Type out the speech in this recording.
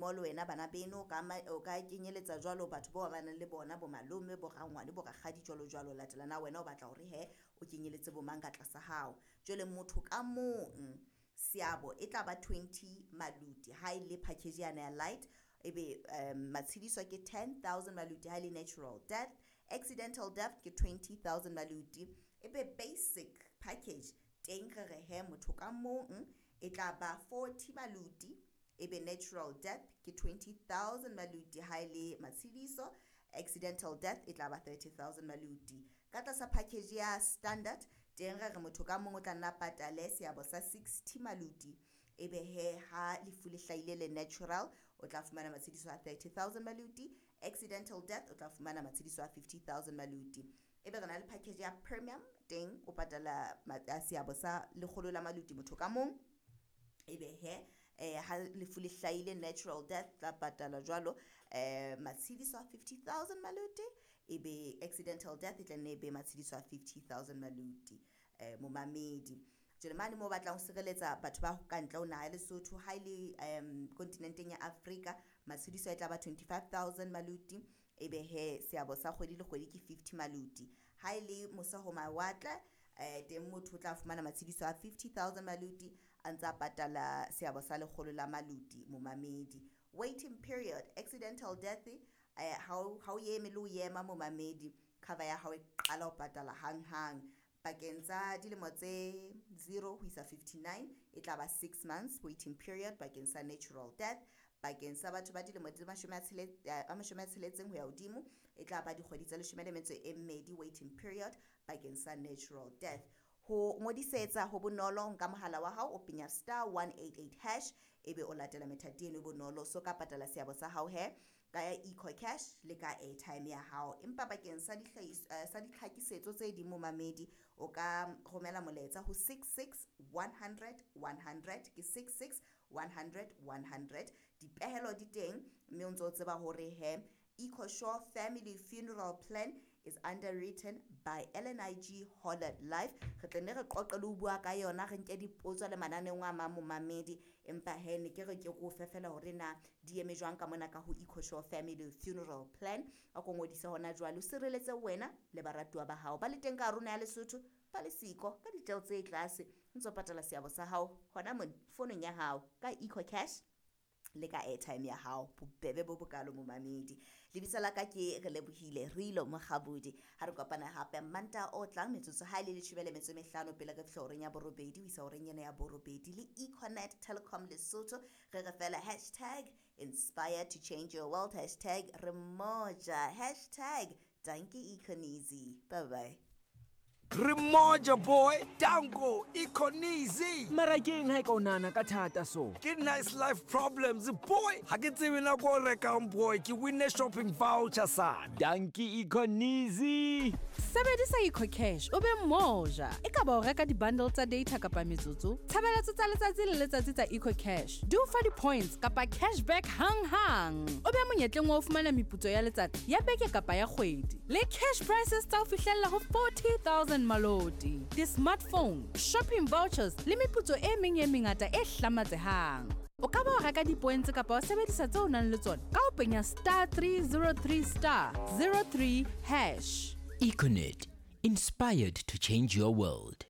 Mo le wena bana beno o ka kenyeletsa jwalo batho bao ba nang le bona bo malome, bo rangwane, bo rakgadi jwalo jwalo. Latela na wena o batla hore he o kenyeletse bo mang ka tlasa hao. Jwale motho ka mong seabo e tla ba 20 maluti ha e le package yana ya light, ebe matshediso ke 10,000 maluti ha e le natural death, accidental death ke 20,000 maluti. Ebe basic package teng re re he motho ka mong e tla ba 40 maluti, ebe natural death ke 20,000 maluti ha e le matshediso, accidental death e tla ba 30,000 maluti. Ka tlasa package ya standard teng re re motho ka mong o tla nna patale seabo sa 60 maluti, ebe he ha lefu le hlahile le natural o tla fumana matshediso a 30,000 maluti, accidental death o tla fumana matshediso a 50,000 maluti. Ebe re na le package ya premium teng o patala seabo sa 100 la maluti motho ka mong, ebe he ha lefu le hlahile natural death tla patala jwalo matshediso a 50,000 maluti, ebe accidental death e tla nne be matshediso a 50,000 maluti. Momamedi jwale mane mo batlang ho sireletsa batho ba ka ntle ho naha ya Lesotho ha ile kontinenteng ya Afrika matshediso e tla ba 25,000 maluti, ebe he seabo sa kgwedi le kgwedi ke 50 maluti. Ha ile mose ho mawatle teng motho o tla fumana matshediso a 50,000 maluti a ntsa patala seabo sa 100 la maluti. Momamedi, waiting period accidental death ha o eme le o ema momamedi, cover ya hao e qala ho patala hang hang. Pakeng tsa dilemo tse 0 ho isa 59 e tla ba 6 months waiting period bakeng sa natural death. Bakeng sa batho ba dilemo tse 60 ho ya hodimo e tla ba dikgwedi tse 12 waiting period bakeng sa natural death. Ho ngodisetsa ho bonolo nka mohala wa hao o penya *188# ebe o latela methati eno e bonolo. So ka patala seabo sa hao he ka EcoCash le ka airtime ya hao. Empa bakeng sa sa ditlhakisetso tse ding momamedi o ka romela molaetsa ho 66 100 100 ke 66 100 100. Dipehelo di teng mme o ntso tseba hore he EcoSure Family Funeral Plan is underwritten by LNIG Hollard Life. Re tla nne re qoqe le ho bua ka yona, re nke dipotso le mananeo a mang momamedi, empa he ne ke re ke ko fe fela hore na di eme jwang ka mona ka ho EcoSure Family Funeral Plan. A ko ngodise hona jwale o sireletse wena le baratuwa ba hao ba le teng ka rona ya Lesotho ba le siko ka ditjeo tse tlase, ntso patala seabo sa hao hona mona fonong ya hao ka EcoCash le ka airtime ya hao. Bobebe bo bokalo momamedi. Lebitso la ka ke Relebohile Rilo Mokgabudi. Ha re kopana hape Mantaha o tlang metsotso ha ile 15 pele re fihla horeng ya borobedi ho isa horeng ena ya borobedi le Econet Telecom Lesotho. Re re fela #inspire to change your world, #remoja, #dankie Econeasy. Bye bye. Remoja boy, danko Econeasy. Mara keng ha e ka o nahana ka thata so? Ke nice life problems boy. Ha ke tsebe nako o rekang boy, ke winne shopping voucher sana. Dankie Econeasy. Sebedisa EcoCash o be moja. E ka ba o reka di-bundle tsa data kapa metsotso, tshebeletso tsa letsatsi le letsatsi tsa EcoCash di o fa di-points kapa cashback hang-hang. O be monyetleng wa ho fumana meputso ya letsatsi, ya beke kapa ya kgwedi. Le cash prices tsa ho fihlella ho 40,000 maloti, di-smartphone, shopping vouchers le meputso e meng e mengata e hlamatsehang. O ka ba o reka di-points kapa wa sebedisa tseo o nang le tsona ka ho penya *303*03#. Econet, inspired to change your world.